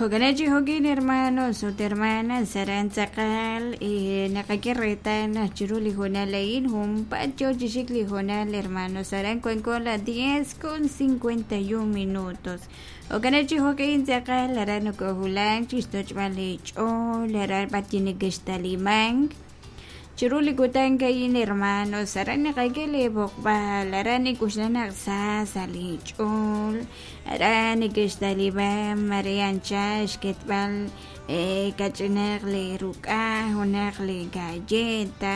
Jo'kan chi jo'kin hermanos ut hermanas aran tz'aqal naqak'e reetal naq chiru li hoonal a'in junpaat yoo chi xik li hoonal hermanos aran wanko a las 10:51 minutos. Jo'kan chi jo'kin tz'aqal aran nokowulak chixtoch'b'al li ch'ool aran b'ar chi nekextalimank chiru li kutan a'in hermanos aran naqak'e li b'oqb'al aran nik'uxla naq sa sa' li ch'ool aran nekextaliman mare anchal xketb'al kach'inaq li ruk'a' junaq li galleta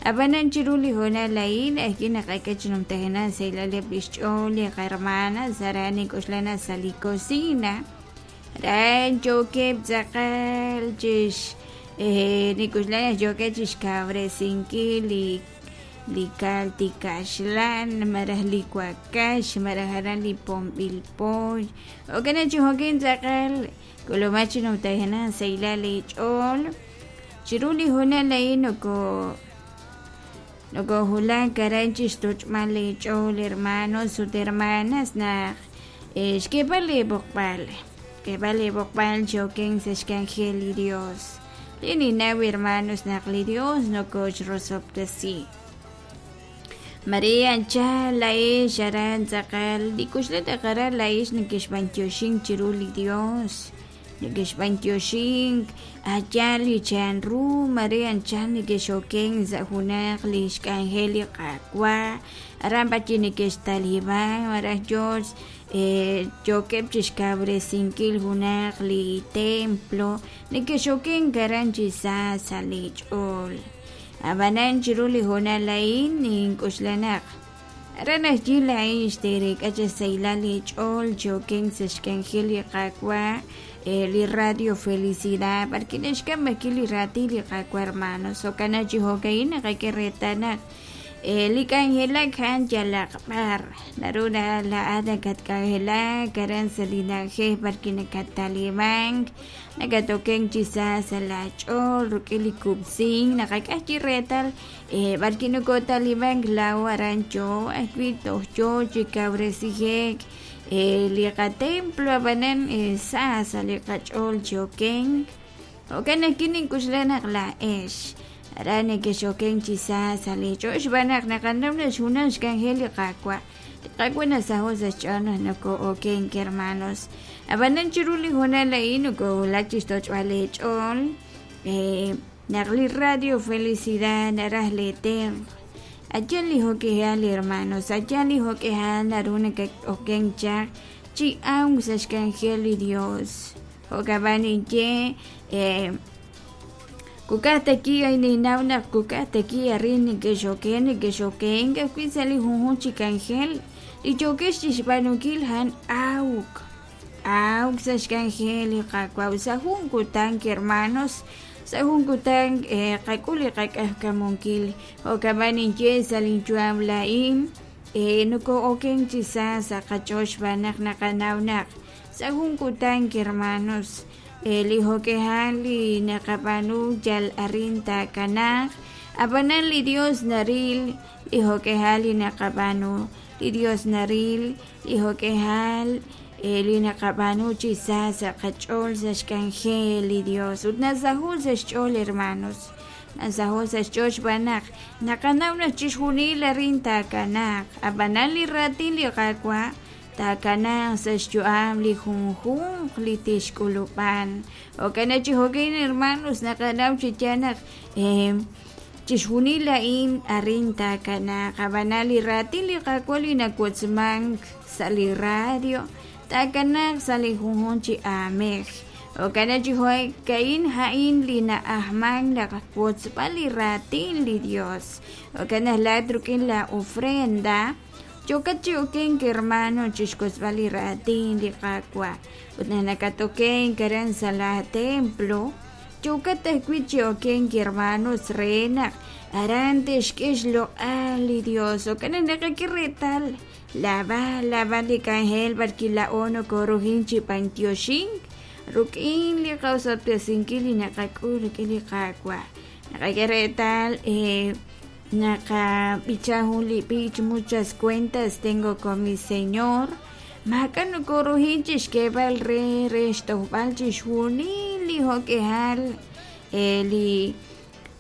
ab'anan chiru li hoonal a'in ajwi' naqak'e chi numtajenaq sahilal eb' lix ch'ool li qahermanas aran nik'uxla naq sa' li cocina aran yookeb' tz'aqal chix nik'uxla naq yookeb' chixkawresinkil li li kaltikaxlan malaj li wakax malaj aran li pomb'il poy jo'kan chi jo'kin tz'aqal k'ulumaj chi numtajenaq sahilal li ch'ool chiru li hoonal a'in noko nokowulak aran chixtoch'b'al li ch'ool hermanos ut hermanas naq xk'eeb'al li b'oqb'al xk'eeb'al li b'oqb'al chi okenk sa' xk'anjel li Dios li ninnaw hermanos naq li Dios nokoxrosob'tesi Maria anchal laa'ex aran tz'aqal li k'uxla taq aran laa'ex nekexb'antioxink chiru li Dios nekexb'antioxink a'yaal li chanru mare anchal nekexokenk sa' junaq li xk'anjel li Qaawa' aran b'ar chi nekextaliman malaj yoo yookeb' chixkawresinkil junaq li templo nekexokenk aran chi sa sa' li ch'ool ab'anan chiru li hoonal a'in nink'uxla naq aran ajwi' laa'in xteerek'a chi sahilal li ch'ool chi okenk sa' xk'anjel li Qaawa' li Radio Felicidad b'arwi' naxk'am ajwi' li raatin li Qaawa' hermanos jo'kan naq chi jo'ka'in naqak'e reetal naq li k'anjelak a'an yalaq b'ar naru laa'at nakatk'anjelak aran sa' li na'ajej b'arwi' nakattalimank nakatokenk chi sa sa' laach'ool rik'in li kub'sink naqak'e ajwi' reetal b'arwi' nokotalimank laa'o aran yoo ajwi' toj yoo chi kawresije'k li qatemplo ab'anan sa sa' li qach'ool chi okenk jo'kan ajwi' nink'uxla naq laa'ex aran nekexokenk chi sa sa' li ch'ool xb'aan naq naqanaw naq xjunaj xk'anjel li Qaawa' li Qaawa' nasaho' sa' xch'ool naq noko'okenk hermanos ab'anan chiru li hoonal a'in nokowulak chixtoch'b'al eech'ool naq li Radio Felicidad naraj lee tenq' a'yaal li jo'k'ihal hermanos a'yaal li jo'k'ihal naru nakat'okenk chaq chi awk sa' xk'anjel li Dios jo'kan b'an ninye kukaj taki ay ninnaw naq kukaj taki arin nekexoken nekexokenk ajwi' sa' li junjunq chi k'anjel li yookex chixb'aanunkil a'an awk awk sa' xk'anjel li Qaawa' sa' jun kutan hermanos sa' jun kutan qak'ul li qak'ajkamunkil jo'kan b'an ninye sa' linyu'am laa'in noko'okenk chi sa sa' qach'ool xb'aan naq naqanaw naq sa' jun kutan hermanos li jo'k'ihal li naqab'aanu yal arin taakanaaq ab'anan li Dios naril li jo'k'ihal li naqab'aanu li Dios naril li jo'k'ihal li naqab'aanu chi sa sa' qach'ool sa' xk'anjel li Dios ut nasaho' sa' xch'ool hermanos nasaho' sa' xch'ool xb'aan naq naqanaw naq chixjunil arin taakanaaq ab'anan li raatin li Qaawa' taakanaaq sa' xyu'am li junjunq li tixk'ulub'an jo'kan chi jo'kin hermanos naqanaw chi yaal naq chixjunil a'in arin taakanaaq ab'anan li raatin li Qaawa' li nawotzmank sa' li radio taakanaaq sa' li junjunq chi aamej jo'kan chi jo'ka'in a'in li na'ajmank naq wotzb'al li raatin li Dios jo'kan naq laa'at rik'in la ofrenda yookat chi okenk hermano chixwotzb'al li raatin li Qaawa' ut naq nakatokenk aran sa' la templo yookat ajwi' chi okenk hermanos re naq aran te'xk'e xloq'al li Dios jo'kan naq naqak'e reetal lava lava li k'anjel b'arwi' laa'o nokorujin chi b'antioxink rik'in li qaosob'tesinkil li naqak'ul rik'in li Qaawa' naqak'e reetal naqab'icha jun li b'ich muchas cuentas tengo con mi Señor. Maak'a' nokoruhin chixk'eeb'al re re xtojb'al chixjunil li jo'k'ihal li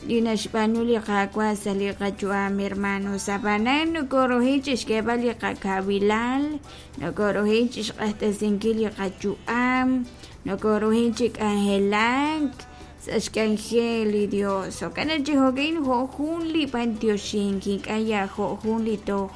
li naxb'aanu li Qaawa' sa' li qayu'am, hermanos. Ab'anan nokoruhin chixk'eeb'al li qakawilal, nokoruhin chixq'axtesinkil li qayu'am, nokoruhin chi k'anjelak sa' xk'anjel li Dios. Jo'kan naq chi jo'kan jo' jun li b'antioxink, ink'a' yal jo' jun li toj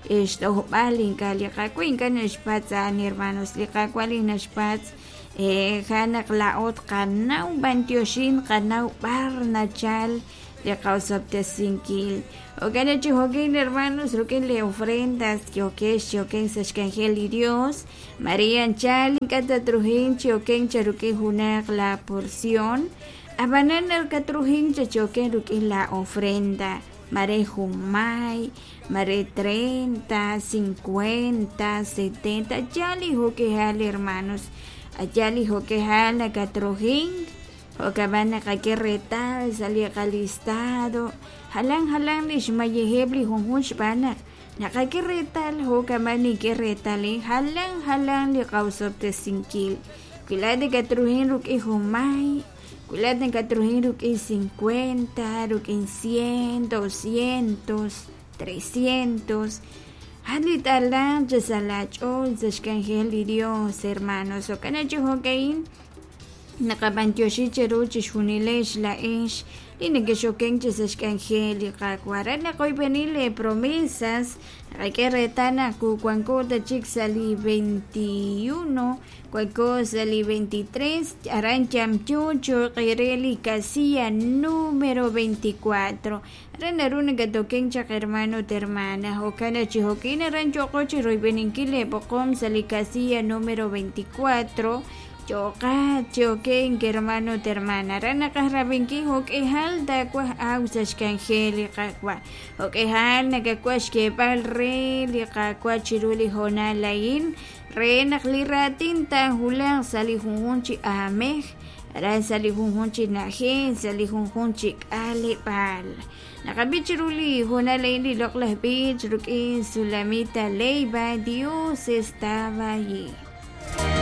xtojb'al ink'a' li Qaawa' ink'a' naxpatz' a'an, hermanos. Li Qaawa' li naxpatz' ja naq laa'o tqanaw b'antioxink, tqanaw b'ar nachal li qa'osob'tesinkil. Jo'kan naq chi jo'kan, hermanos, rik'in li ofrendas yookex chi okenk sa' xk'anjel li Dios, mare anchal ink'a' tatruhin chi okenk cha rik'in junaq la porción, ab'anan nakatruhin cha chi okenk rik'in la ofrenda, mare junmay, mare 30, 50, 70, yal li jo'k'ihal, hermanos, yal li jo'k'ihal nakatruhin. Jo'kan naqak'e reetal sa' li qalistado jalan jalan li xmayejeb' li junjunq xb'aan naq naqak'e reetal jo'kan nink'e reetal jalan jalan li qa'osob'tesinkil. Wi laa'at nakatruhin rik'in junmay, wi laa'at nakatruhin rik'in 50, rik'in 100, 200, 300, a'an li t'alanq chi sa' laach'ool sa' xk'anjel li Dios, hermanos. Jo'kan naq chi jo'ka'in naqab'antioxi cheru chixjunilex laa'ex li nekexokenk chi sa' xk'anjel li Qaawa'. Re naqoyb'eni lee promesas, naqak'e reetal naq wanko ta chik sa' li 21, wanko sa' li 23, aran yamyo cho'q re li casilla número 24. Aran naru nakatokenk chaq hermano ut hermana. Jo'kan naq chi jo'kin aran yooqo chi royb'eninkil lee b'oqom sa' li casilla número 24. Yooqat chi okenk hermano ut hermana. Aran naqaj rab'inkil jo'k'ihal taawaj aw sa' xk'anjel li Qaawa'. Jo'k'ihal nakawaj xk'eeb'al re li Qaawa' chiru li hoonal a'in re naq li raatin taahulaq sa' li junjunq chi aamej, aran sa' li junjunq chi na'ajej, sa' li junjunq chi k'aleb'aal. Naqab'i chiru li hoonal a'in li loq'laj b'ich rik'in Sulamita Leiva, Dios estaba allí.